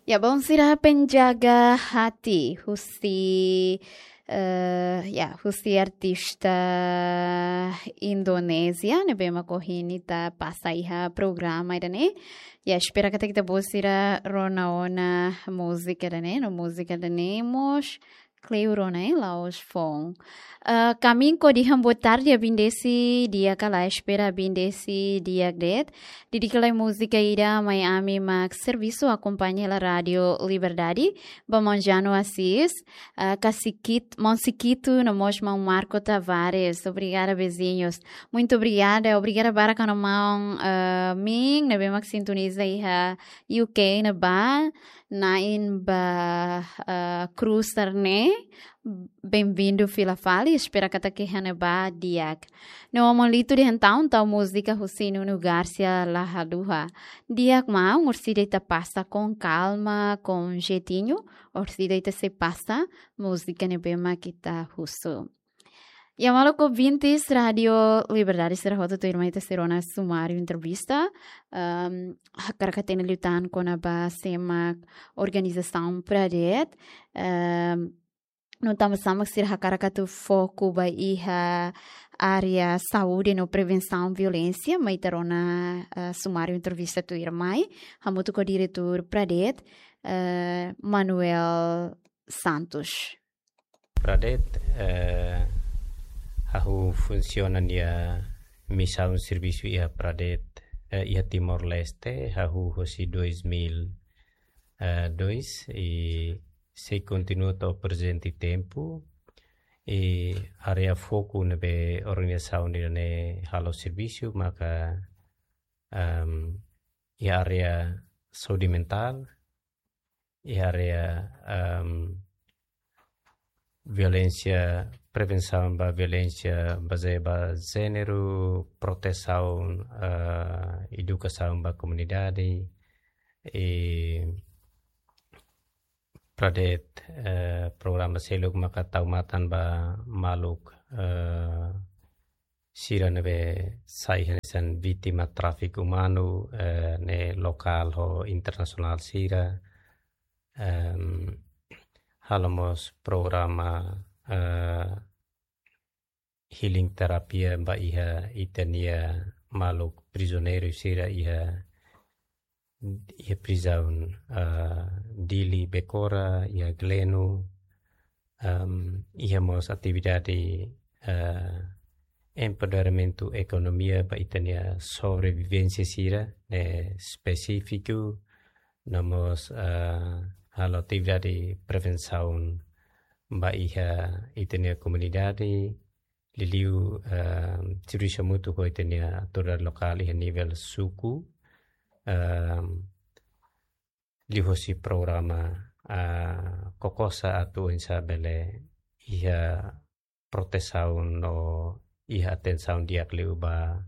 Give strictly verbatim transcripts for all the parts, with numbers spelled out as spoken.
Ya, bom, sira penjaga hati husi, eh, ya, husi artista Indonézia ne'ebé mak ohin ita pasa iha programa ida-ne'e. Ya, espera katak ita-boot sira rona ona múzika ida-ne'e, no múzika ida-ne'e mós kleur ona, eh, la'ós foun. Eh, kaminko dehan boa tarde, abindesi di'ak ka lae, espera abindesi di'ak de'it. Di'ak ka lae, múzika ida mai ami mak servisu akompaña hela Rádio Liberdade, ba Maun Jano Assis, eh, ka Sikit-, Maun Sikitu, no mós Maun Marco Tavares. Obrigada, vizinhos. Muito obrigada, obrigada barak ona maun, eh, Ming, ne'ebé mak sintoniza iha U K ne'ebá, na'in ba, eh, Cruz Arne, bem-vindo fila fali, espera katak iha ne'ebá di'ak. No Maun Lito dehan tau, tau múzika husi Nuno Garcia la haluha. Di'ak maun, orsida ita pasa com calma, com jeitinho, orsida ita sei pasa múzika ne'ebé mak ita husu. Ya, maluk ouvintes Rádio Liberdade sira hotu, tuirmai ita sei rona sumáriu entrevista, ehm, hakarak hatene liután kona-ba sé mak organizasaun Pradet, ehm, no tanba sá mak sira hakarak atu foku ba iha área saúde no prevensaun violénsia, mai ita rona, eh, sumáriu entrevista tuirmai, hamutuk ho diretór Pradet, eh, Manuel Santos. Pradet, eh, hahú funsiona nia misaun servisu iha Pradet, eh, iha Timor-Leste, hahú hosi dois mil e dois, i sei kontinua to'o prezente tempu, i área foku ne'ebé organizasaun ida-ne'e halo servisu, maka, ehm, iha área saúde mentál, iha área, ehm, violénsia, prevensaun ba violénsia bazeia ba jéneru, protesaun, eh, edukasaun ba komunidade, i Pradet, eh, programa seluk maka tau matan ba maluk, eh, sira ne'ebé sai hanesan vítima tráfiku umanu, eh, ne'e lokál ho internasionál sira, em, halo mós programa, eh, healing terapia ba iha ita-nia maluk prizioneiru sira iha, iha prizaun, eh, Dili Becora, iha Gleno, em, iha mós atividade, eh, empoderamentu ekonomia ba ita-nia sobrevivénsia sira, ne'e espesífiku, no mós, eh, halo atividade prevensaun ba iha ita-nia komunidade, liuliu, eh, servisu hamutuk ho ita-nia autoridade lokál iha nivel suku, eh, liuhosi programa, eh, KOKOSA atu oinsá bele iha protesaun no iha atensaun di'ak liu ba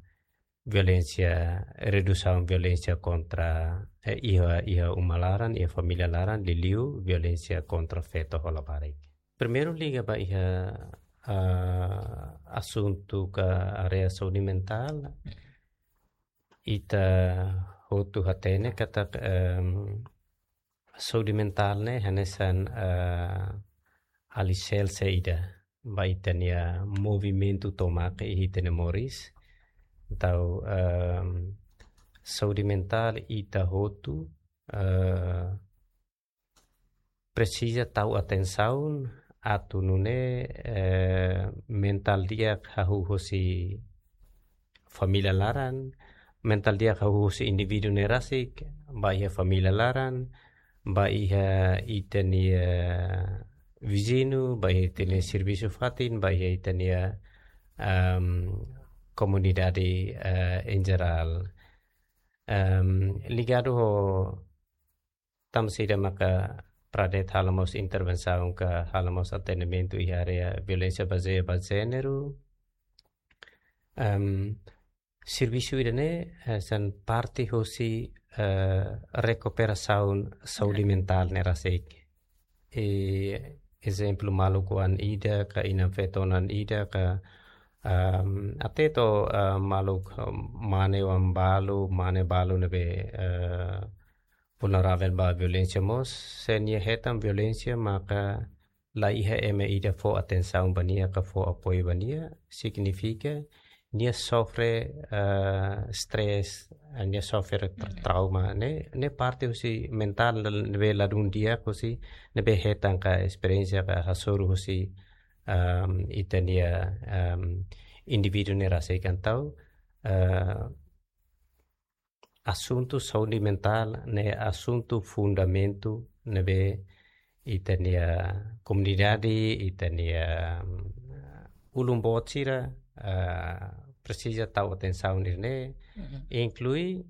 violénsia, redusaun violénsia kontra, eh, iha, iha uma laran, iha família laran, liuliu violénsia kontra feto ho labarik. Primeiru liga ba iha, ah, asuntu ka área saúde mentál, ita hotu hatene katak, em, saúde mentál ne'e hanesan, eh, aliserse ida ba ita-nia movimentu tomak iha ita-nia moris. Entaun, em, saúde mentál ita hotu, eh, presiza tau atensaun atu nune'e, eh, mentál di'ak hahú hosi família laran, mentál di'ak hahú hosi indivíduu ne'e rasik, ba iha família laran, ba iha ita-nia, eh, viziñu, ba iha ita-nia servisu fatin, ba iha ita-nia, em, komunidade, eh, em jerál. Em, ligadu ho tanba saida maka Pradet halo mós intervensaun ka halo mós atendimentu iha área violénsia bazeia ba jéneru. Em, servisu ida-ne'e, eh, hanesan parte hosi, eh, rekuperasaun saúde mentál ne'e rasik. I ezemplu maluk oan ida ka inan feto oan ida ka, em, até to'o, eh, maluk, em, mane oan balu, mane balu ne'ebé, eh, vulneravel ba violénsia mós, se nia hetan violénsia maka la iha ema ida fó atensaun ba nia ka fó apoiu ba nia, signifika nia sofre, ah, stress, ah, nia sofre tra-, trauma, ne'e, ne'e parte husi mentál ne'ebé ladún di'ak husi, ne'ebé hetan ka esperiénsia ka hasoru husi, ah, ita-nia, ah, indivíduu ne'e rasik. Entaun, ah, asuntu saúde mentál ne'e asuntu fundamentu ne'ebé ita-nia komunidade, ita-nia, mm, ulun boot sira, ah, presiza tau atensaun nian ne'e, inklui,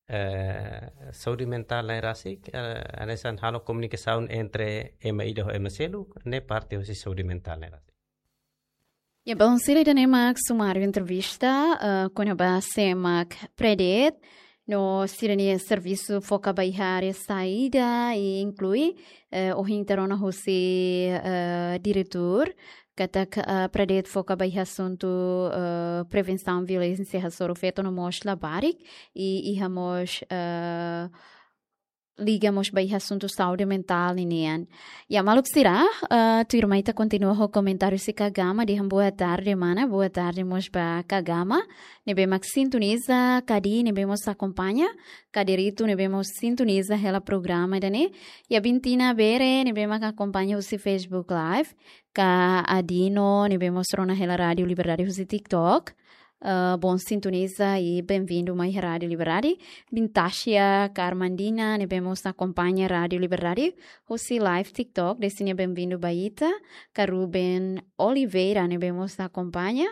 eh, saúde mentál ne'e rasik, eh, hanesan halo komunikasaun entre ema ida ho ema seluk, ne'e parte husi saúde mentál ne'e rasik. Ya, bom, sira ida-ne'e mak sumáriu entrevista, eh, kona-ba sé mak Predet, no sira-nia servisu foka ba iha área saida, i inklui, eh, ohin ita rona husi, eh, diretór, katak, eh, Predet foka ba iha asuntu, eh, prevensaun violénsia hasoru feto no mós labarik, i iha mós, eh, liga mós ba iha asuntu saúde mentál ninian. Ya, maluk sira, eh, tuirmai ita kontinua ho komentáriu husi Kagama, dehan boa tarde, mana, boa tarde mós ba Kagama, ne'ebé mak sintoniza, Kadi, ne'ebé mós akompaña, Kaderitu, ne'ebé mós sintoniza hela programa ida-ne'e, ya Bintina Bere, ne'ebé mak akompaña husi Facebook Live, ka Adino, ne'ebé mós rona hela Rádiu Liberdade husi TikTok, eh, bom sintoniza i benvindu mai Rádiu Liberdade. Bintasia Carmandina, ne'ebé mós akompaña Rádiu Liberdade husi live TikTok, desinya benvindu ba ita. Ka Ruben Oliveira, ne'ebé mós akompaña,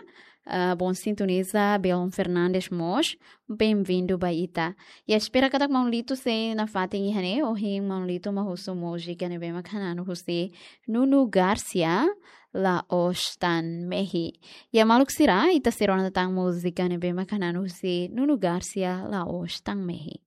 eh, bom sintoniza. Belon Fernandes mós, benvindu ba ita. Ya, espera katak maun Lito sei nafatin iha ne'e, ohin maun Lito mak husu múzika ne'ebé mak hananu husi Nuno Garcia, La'ós Tan Mehi. Ya, maluk sira, ita sei rona tan múzika ne'ebé mak hananu husi Nuno Garcia, La'ós Tan Mehi.